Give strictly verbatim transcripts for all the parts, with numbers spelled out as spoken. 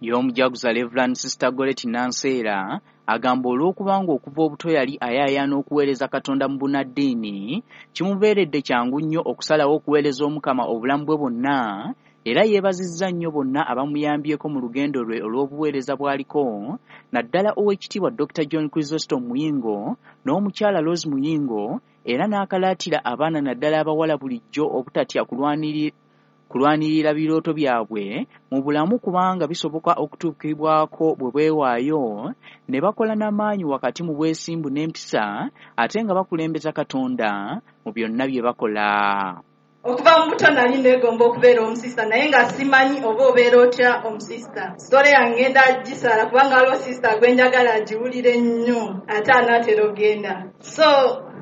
Ye omujaguza Reverend Sister Goreti Nanseera agamba olw'okubanga okuva obuto yali ayaayaana okuweereza Katonda mu bunnaddiini, kimubeeredde kyangu nnyo okusalawo okuweereza Omukama obulamu bwe bwonna, era yeebazizza nnyo bonna abamuyambyeko mu lugendo lwe olw'obuweereza bw'aliko, naddala Oweekitiibwa Dokita John Chrysostom Muyingo n'omukyala Rose Muyingo, era n'akalaatira abaana naddala abawala bulijjo obutatya kulwaniri kulwanirira birooto byabwe mu bulamu kubanga bisoboka okutuukibwako bwe beewaayo ne bakola n'amaanyi wakati mu bwesimbu n'empisa ate nga bakulembeza Katonda mu byonna bye bakola. Okuva mu buto nali neegomba okubeera omusista, naye nga simanyi oba obeera otya omusista. Sitole yange ngenda gisaala kubanga waliwo sisita gwe njagala agiwulire nnyo ate anaatera ogenda. So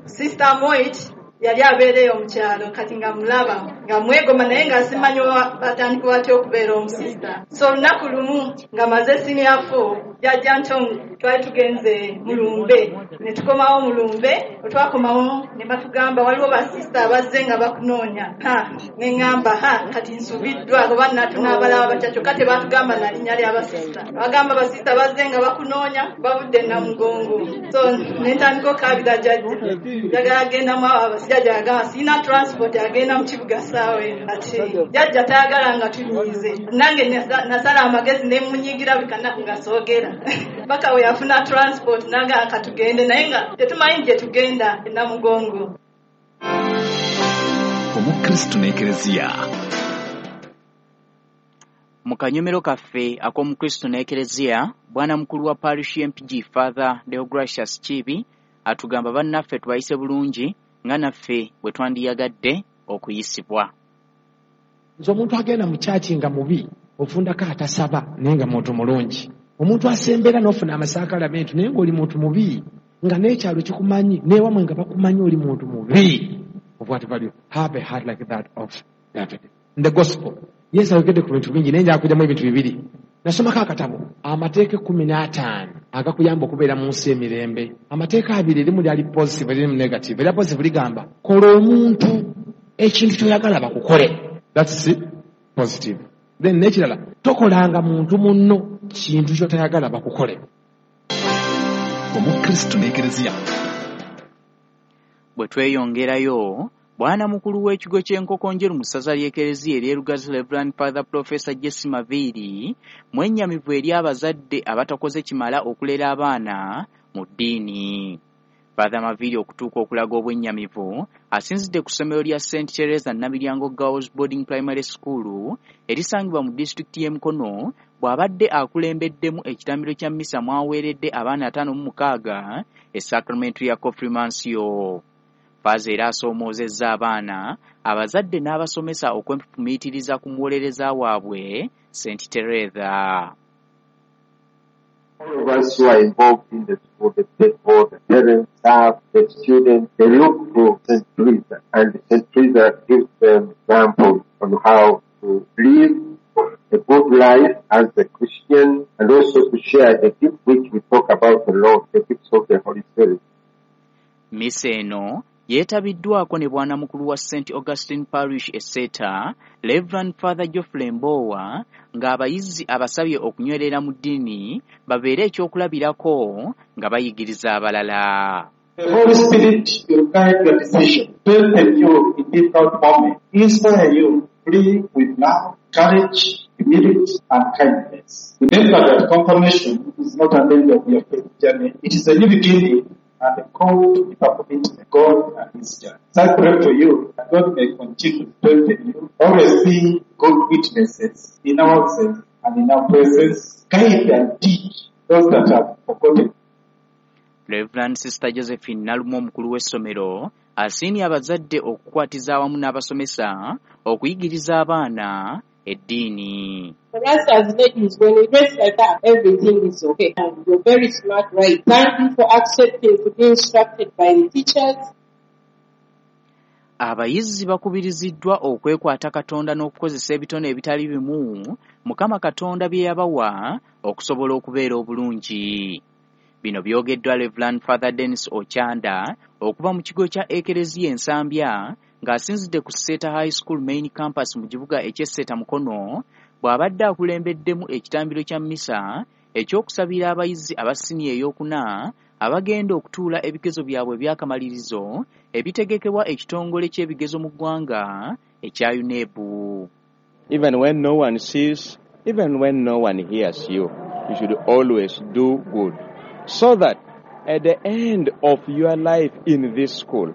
Sister Moit yali abeera eyo mu kyalo, kati nga mulaba nga mwegomba naye nga simanyi oba batandika batya okubeera omusista. So olunaku lumu nga maze senior four, Jjajja Ntongo twali tugenze Mulumbe, ne tukomawo Mulumbe. Bwe twakomawo ne batugamba waliwo basisita abazze nga bakunoonya. Ha, ne ŋŋamba ha, kati nsubiddwa oba tunaabalaba batya, kyokka tebaatugamba na linnya ly'abasisita. Bagamba basisita bazze nga bakunoonya, bavudde Namugongo. So ne ntandika okaabira jjajja, njagala gendamu abo abasajja. Jjajja agamba sirina transport agenda mu kibuga ssaawa eno. Ati jjajja tayagala nga tunyiize, nange nasala amagezi ne munyiigira buli kanaku nga soogera paka we yafuna transport nagamba katugende, naye nga tetumanyi gye tugenda e Namugongo. Omukristu n'Ekereziya. Mu kanyomero kaffe ak'Omukristu n'Ekereziya, bwana mukulu wa parish y'e Mpigi Father Deogratius Kiibi atugamba bannaffe tubayise bulungi nga naffe bwe twandiyagadde okuyisibwa. Nze omuntu agenda mu kyaki nga mubi, ofundako atasaba naye nga muntu mulungi. Omuntu asembera n'ofuna amasakalamentu naye ng'oli muntu mubi, nga n'ekyalo kikumanyi n'ewamwe nga bakumanyi oli muntu mubi. Of what value? Have a heart like that of David. In the gospel, Yesu ayogedde ku bintu bingi naye nja kujjamu ebintu bibiri. Nasomako akatabo amateeka ekkumi n'ataano agakuyamba okubeera mu nsi emirembe. Amateeka abiri, erimu lyali positive, erimu negative. Erya positive ligamba kola omuntu ekintu ky'oyagala bakukole. That's positive. Then n'ekirala, tokolanga muntu munno kintu ky'otayagala bakukole. Omukristu n'Ekereziya. Bwe tweyongerayo, bwana mukulu w'ekigo ky'Enkoko Njeru mu ssaza ly'Ekereziya ery'e Lugazi Reverend Father Professor Jesse Maviiri mwennyamivu eri abazadde abatakoze kimala okulera abaana mu ddiini. Father Maviiri okutuuka okulaga obwennyamivu asinzidde ku ssomero lya Saint Teresa Namilyango Girls Boarding Primary School erisangibwa mu disitulikiti y'e Mukono bw'abadde akulembeddemu ekitambiro kya mmisa mwaweeredde abaana ataano mu mukaaga esacramentu ya Konfirmansiyo. Faaza era asoomoozezza abaana, abazadde n'abasomesa okwefumiitiriza ku muwolereza waabwe Saint Teresa. All of us who are involved in the school, the state board, the parents, staff, the students, they look to Saint Teresa, and Saint Teresa gives them examples on how to live a good life as a Christian, and also to share the gift which we talk about a lot, the gifts of the Holy Spirit. Misa eno yeetabiddwako ne bwana mukulu wa Saint Augustine Parish e Seeta, Reverend Father Geoffrey Mbowa, ng'abayizi abasabye okunywerera mu ddiini babeere ekyokulabirako nga bayigiriza abalala. The Holy Spirit will guide your decision, strengthen you in difficult moments, inspire you to live with love, courage, humility, and kindness. Remember that confirmation is not an end of your faith journey. It is a new beginning and a call to deeper commitment to God and His church. So I pray for you that God may continue to strengthen you, always be good witnesses in our absence and in our presence, guide and teach those that have forgotten. Reverend Sister Josephine Nalumu omukulu w'essomero asiimye abazadde okukwatiza awamu n'abasomesa okuyigiriza abaana eddiini. For us as ladies, when we dress like that, everything is okay. And you're very smart, right? Thank you for accepting to be instructed by the teachers. Abayizi bakubiriziddwa okwekwata Katonda n'okukozesa ebitone ebitali bimu Mukama Katonda bye yabawa okusobola okubeera obulungi. Bino byogeddwa Reverend Father Dennis Ochanda okuva mu kigo kya Ekereziya Ensambya ng'asinzidde ku Seeta High School Main Campus mu kibuga eky'e Seeta Mukono, bw'abadde akulembeddemu ekitambiro kya mmisa ekyokusabira abayizi aba siniya ey'okuna abagenda okutuula ebigezo byabwe eby'akamalirizo ebitegekebwa ekitongole ky'ebigezo mu ggwanga ekya UNEB. Even when no one sees, even when no one hears you, you should always do good, so that at the end of your life in this school,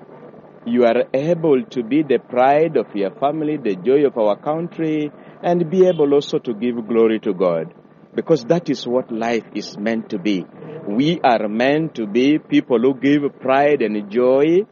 you are able to be the pride of your family, the joy of our country, and be able also to give glory to God. Because that is what life is meant to be. We are meant to be people who give pride and joy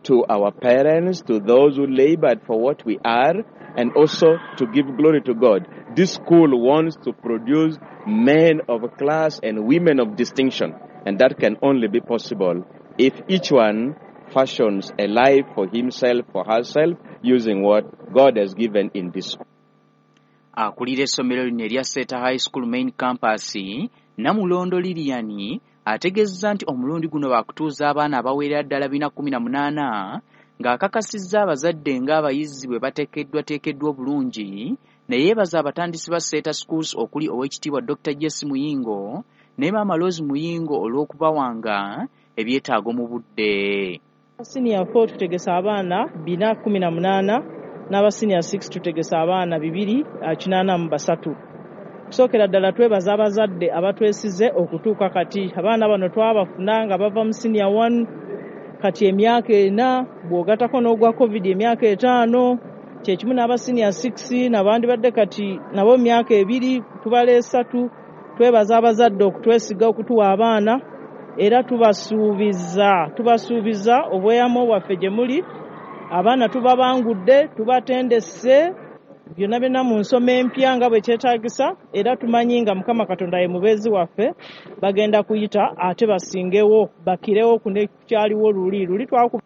to our parents, to those who labored for what we are, and also to give glory to God. This school wants to produce men of class and women of distinction. And that can only be possible if each one fashions a life for himself, for herself, using what God has given in this school. Akulira essomero lino erya Seeta High School Main Campus, Namulondo Lilian, ategeezezza nti omulundi guno baakutuuza abaana abawerera ddala bina kkumi na munaana, ng'akakasizza abazadde ng'abayizi bwe bateekeddwateekeddwa obulungi, ne yeebaza abatandisi ba Seeta Schools okuli Oweekitiibwa Dokita Jesse Muyingo ne Maama Rose Muyingo olw'okubawanga ebyetaago mu budde. Senior four tutegesa abaana bina kkumi na munaana, n'aba senior six tutegesa abaana bibiri kinaana mu basatu. Kusookera ddala twebaza abazadde abatwesize okutuuka kati. Abaana bano twabafuna nga bava mu senior one, kati emyaka ena, bw'ogattako n'ogwa COVID emyaka etaano, kye kimu n'aba senior six n'abandibadde kati nabo emyaka ebiri, tubala esatu. Twebaza abazadde okutwesiga okutuwa abaana, era tubasuubiza tubasuubiza obweyamo bwaffe gye muli. Abaana tubabangudde, tubatendese byonna byonna mu nsoma empya nga bwe kyetaagisa, era tumanyi nga Mukama Katonda ye mubeezi waffe, bagenda kuyita ate basingewo, bakirewo ku nekyaliwo luli luli twaku.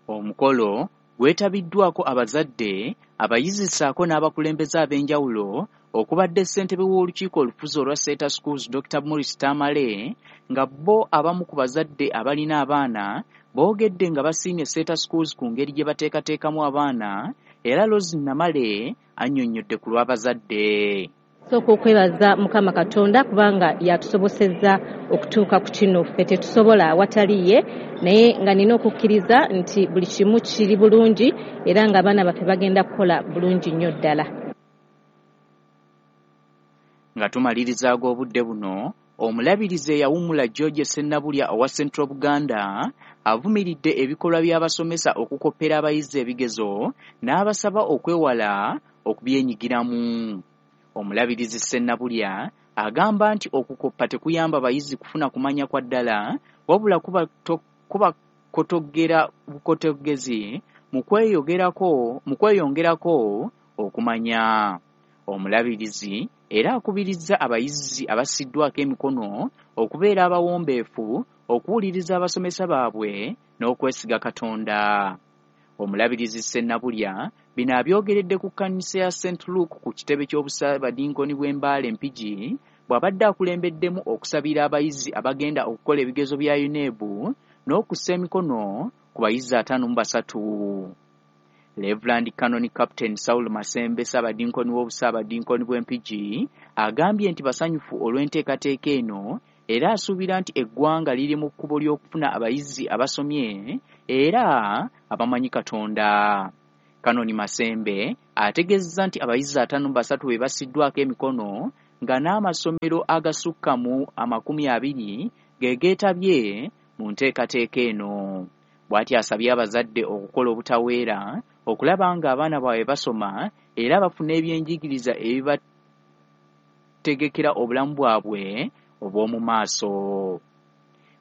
Omukolo gwetabiddwako abazadde, abayizi ssaako n'abakulembeze ab'enjawulo okubadde ssentebe w'olukiiko olufuzi olwa Seeta Schools Dokita Morris Tamale, nga bo abamu ku bazadde abalina abaana boogedde nga basiimye Seeta Schools ku ngeri gye bateekateekamu abaana, era Rose Namale annyonnyodde ku lw'abazadde. Sooka okwebaza Mukama Katonda kubanga yatusobosezza okutuuka ku kino, ffe tetusobola awatali ye, naye nga nina okukkiriza nti buli kimu kiri bulungi era ng'abaana baffe bagenda kukola bulungi nnyo ddala. Nga tumaliriza ag'obudde buno, omulabirizi eyawummula George Sennabulya owa Central Buganda avumiridde ebikolwa by'abasomesa okukoppera abayizi ebigezo n'abasaba okwewala okubyenyigiramu. Omulabirizi Sennabulya agamba nti okukoppa tekuyamba bayizi kufuna kumanya kwa ddala, wabula kubakotogera bukotogezi mu kweyogerako mu kweyongerako okumanya. Omulabirizi era akubirizza abayizi abassiddwako emikono okubeera abawombeefu, okuwuliriza abasomesa baabwe n'okwesiga Katonda. Omulabirizi Sennabulya bino abyogeredde ku kkanisa ya Saint Luke ku kitebe ky'Obusaabadinkoni bw'e Mbale Mpigi, bw'abadde akulembeddemu okusabira abayizi abagenda okukola ebigezo bya UNEB n'okussa emikono ku bayizi ataano mu basatu. Reverend Canon Captain Saul Masembe Ssaabadinkoni w'Obusaabadinkoni bw'e Mpigi agambye nti basanyufu olw'enteekateeka eno, era asuubira nti eggwanga liri mu kkubo ly'okufuna abayizi abasomye era abamanyi Katonda. Kanoni Masembe ategeezezza nti abayizi ataano mu basatu be bassiddwako emikono, nga n'amasomero agasukka mu amakumi abiri ge geetabye mu nteekateeka eno. Bw'atyo asabye abazadde okukola obutaweera okulaba ng'abaana baabwe basoma era bafuna ebyenjigiriza ebibategekera obulamu bwabwe obw'omu maaso.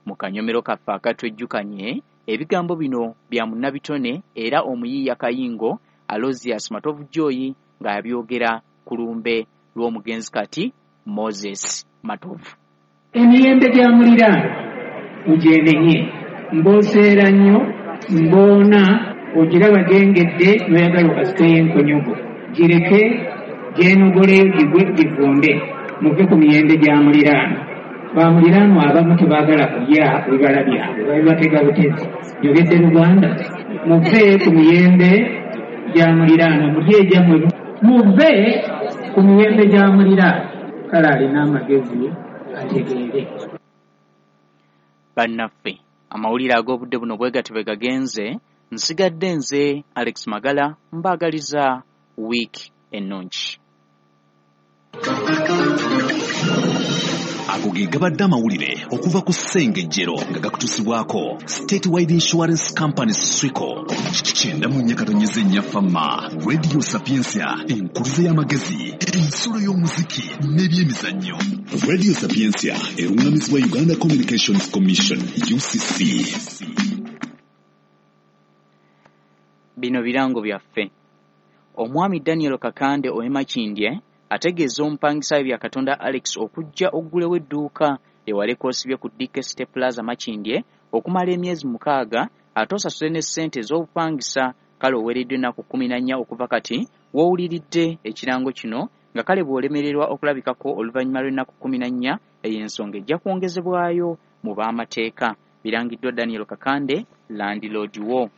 Mu kanyomero kaffe akatwejjukanye, ebigambo bino bya munnabitone era omuyiiya Kayingo Aloysius Matovu Joy ng'abyogera ku lumbe lw'omugenzi kati Moses Matovu. Emiyembe gya muliraano ogyenenye, mbooseera nnyo, mboona ogiraba gyengedde n'oyagala okasikeyo enkonyogo, gireke gyenogoleyo gigwe givunde, muve ku miyembe gya muliraano. Bamuliraanwa abamu tebaagala kulya bibala byabwe, babibatega butezi. Njogedde Luganda. Muve ku miyembe gya muliraanwa, mulye egyammwe. Muve ku miyembe gya muliraanwa. Kale alina amagezi ategeere. Bannaffe, amawulire ag'obudde buno bwe gatyo bwe gagenze. Nsigadde nze Alex Magala, mbaagaliza wiiki ennungi. Ago ge gabadde amawulire okuva ku Ssengejjero nga gakutusibwako Statewide Insurance Company Swico. Kyenda mu nnya katonyeze nnya Fama, Radio Sapientia, enkuluze y'amagezi, ensulo y'omuziki n'ebyemizannyo. Radio Sapientia erungamizibwa Uganda Communications Commission U C C. Bino birango byaffe. Omwami Daniel Kakande ow'e Makindye ategeeza omupangisa bya Katonda Alex okujja oggulewo edduuka ewaleka osibye ku D K City Plaza Makindye okumala emyezi mukaaga ate osasule ne ssente ez'obupangisa. Kale oweereddwa ennaku kkumi na nnya okuva kati w'owuliridde ekirango kino, nga kale bw'olemererwa okulabikako oluvannyuma lw'ennaku kkumi na nnya, eyo ensonga ejja kwongezebwayo mu b'amateeka. Birangiddwa Daniel Kakande, landlord wo.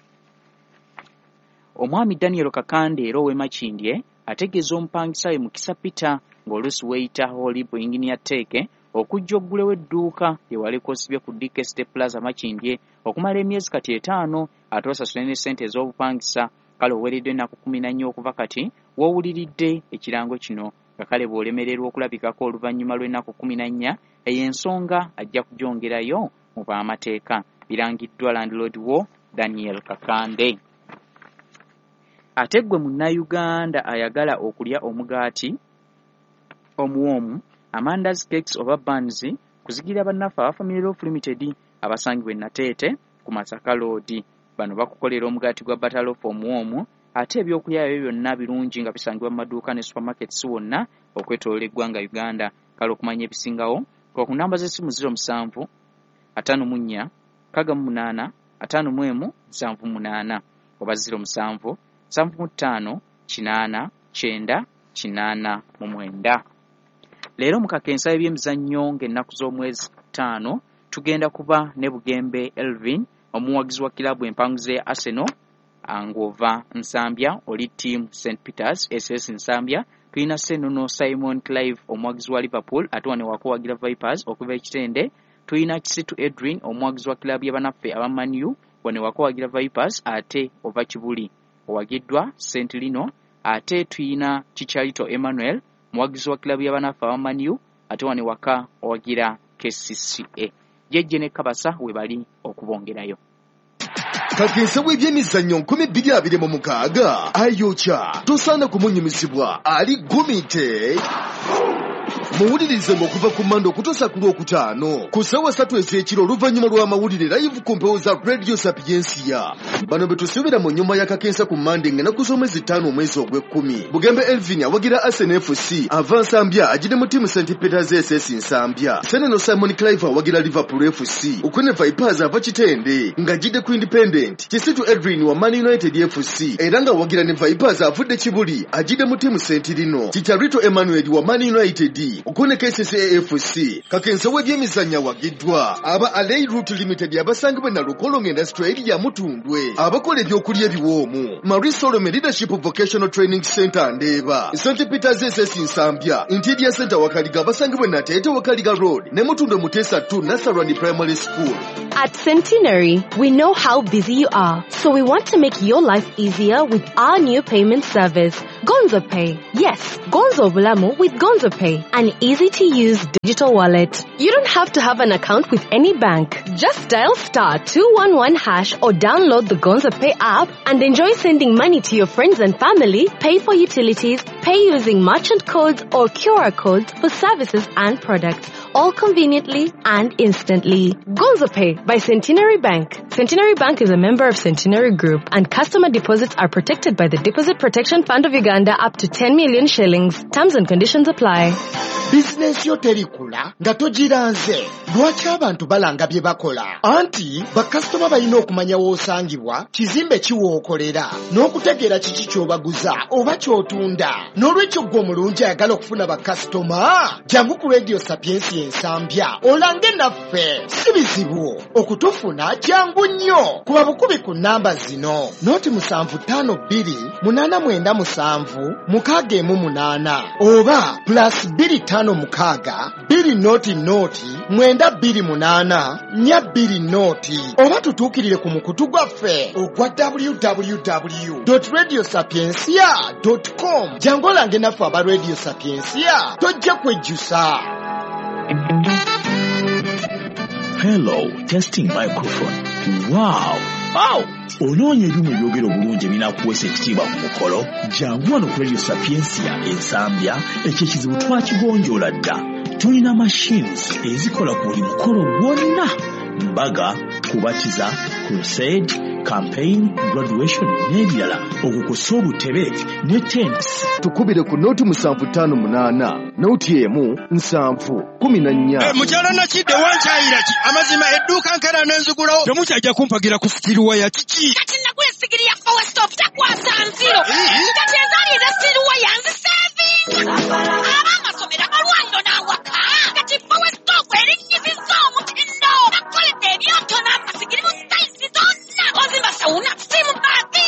Omwami Daniel Kakande era ow'e Makindye ategeeza omupangisa we Mukisa Peter ng'oluusi weeyita Holib Engineer Teeke okujja oggulewo edduuka ewaleka osibye ku D K City Plaza Makindye okumala emyezi kati etaano ate osasule ne ssente ez'obupangisa. Kale oweereddwa ennaku kkumi na nnya okuva kati w'owuliridde ekirango kino, nga kale bw'olemererwa okulabikako oluvannyuma lw'ennaku kkumi na nnya, eyo ensonga ajja kugyongerayo mu b'amateeka. Birangiddwa landlord wo Daniel Kakande. Ate ggwe munnayuganda ayagala okulya omugaati omuwoomu, amandazi, cakes oba buns, kuzigira bannaffe aba Family Loaf Limited abasangibwa e Nateete ku Masaka Road. Bano bakukolera omugaati gwa butter loaf omuwoomu, ate ebyokulya ebyo byonna birungi nga bisangibwa mu maduuka ne supermarkets wonna okwetooloola eggwanga Uganda. Kale okumanya ebisingawo kwa ku namba z'essimu ziro musanvu ataano mu nnya nkaaga mu munaana ataano mu emu nsanvu munaana oba ziro musanvu nsanvu mu ttaano kinaana kyenda kinaana mu mwenda. Leero mu kakensa ebyemizannyo ng'ennaku z'omwezi ttaano tugenda kuba ne Bugembe Elvin, omuwagizi wa kiraabu empanguzi ya Arsenal ng'ova Nsambya, oli team Saint Peters S S Nsambya. Tulina Senono Simon Clive, omuwagizi wa Liverpool ate wano wakuwagira Vipers okuva e Kitende. Tulina Kisitu Edwin, omuwagizi wa kiraabu y'abannaffe aba Man U, wano wakuwagira Vipers ate ova Kibuli, owagiddwa Saint Lino. Ate tulina Chicharito Emmanuel, muwagizi wa kiraabu y'abannaffe aba Man U ate wano waka owagira K C C A. Jejje ne Kabasa we bali okubongerayo. Kakensa w'ebyemizannyo nkumi bbiri abiri mu mukaaga ayokya tosaana kumunyumisibwa ali gumite. Muwulirize ng'okuva ku Mmande okutuusa ku Lwokutaano ku ssaawa ssatu ez'ekiro oluvannyuma lw'amawulire live ku mpewo za Radio Sapientia. Bano be tusuubira mu nnyumba ya Kakensa ku Mmande ng'ennaku z'omwezi ttaano omwezi ogw'ekkumi. Bugembe Elvin awagira Arsenal F C ava Nsambya agire mu ttiimu Saint Peters S S Nsambya. Seneno Simon Clive awagira Liverpool F C Okwene Vipers ava Kitende ng'agidde ku Independent. Kisitu Edwin wa Man United F C era ng'awagira ne Vipers avudde Kibuli agidde mu ttiimu Saint Lino. Chicharito Emmanuel wa Man United Okune K C C A F C. Kakensa w'ebyemizannyo awagiddwa aba Alei Route Limited abasangibwa na Lukolongo Industrial ya Mutundwe abakola ebyokulya ebiwoomu. Marie Solomon Leadership Vocational Training Center Ndeeba, Saint Peters S S Nsambya, Interior Center Wakaliga abasangibwa Nateete Wakaliga Road ne Mutundwe Mutesa two Nasarani Primary School. At Centenary, we know how busy you are, so we want to make your life easier with our new payment service, Gonzo Pay. Yes, Gonzo Bulamu with Gonzo Pay, an easy-to-use digital wallet. You don't have to have an account with any bank. Just dial star two one one hash or download the Gonzo Pay app and enjoy sending money to your friends and family, pay for utilities, pay using merchant codes or Q R codes for services and products, all conveniently and instantly. Gonzo Pay by Centenary Bank. Centenary Bank is a member of Centenary Group, and customer deposits are protected by the Deposit Protection Fund of Uganda up to ten million shillings. Terms and conditions apply. Bizinensi yo terikula nga togiranze. Lwaki abantu balanga bye bakola? Anti bakasitoma balina okumanya w'osangibwa, kizimbe ki w'okolera, n'okutegeera kiki ky'obaguza oba ky'otunda. N'olwekyo ggwe omulungi ayagala okufuna bakasitoma, jangu ku Radio Sapiensia Ensambya olange naffe. Si bizibu okutufuna, jangu nnyo. Kuba bukubi ku nnamba zino: noti musanvu ttaano bbiri munaana mwenda musanvu mukaaga emu munaana oba plus bbiri ttaano mukaaga bbiri noti noti mwenda bbiri munaana nnya bbiri noti, oba tutuukirire ku mukutu gwaffe ogwa w w w radio sapiensia com. Jangu olange naffe aba Radio Sapiensia, tojja kwejjusa. Hello, testing microphone. Wow! Wow! Onoonya ebyuma ebyogera obulungi ebinaakuweesa ekitiibwa ku mukolo? Jangu wano ku Radio Sapiensia Ensambya, ekyo ekizibu twakigonjoola dda. Tulina machines ezikola ku buli mukolo gwonna: mbaga, kubatiza, crusade, campaign, graduation n'ebirala, okwo kw'ossa obutebe ne tents. Tukubire ku noti musanvu ttaano munaana noti emu nsanvu kumi na nnya. Eh, mukyala Nakidde, wankyayira ki? Amazima edduuka nkera nenzigulawo, temukyajja kumpagira ku steel wire, kiki? Kati nagula esigiri ya Four Stove, takwasa nziro.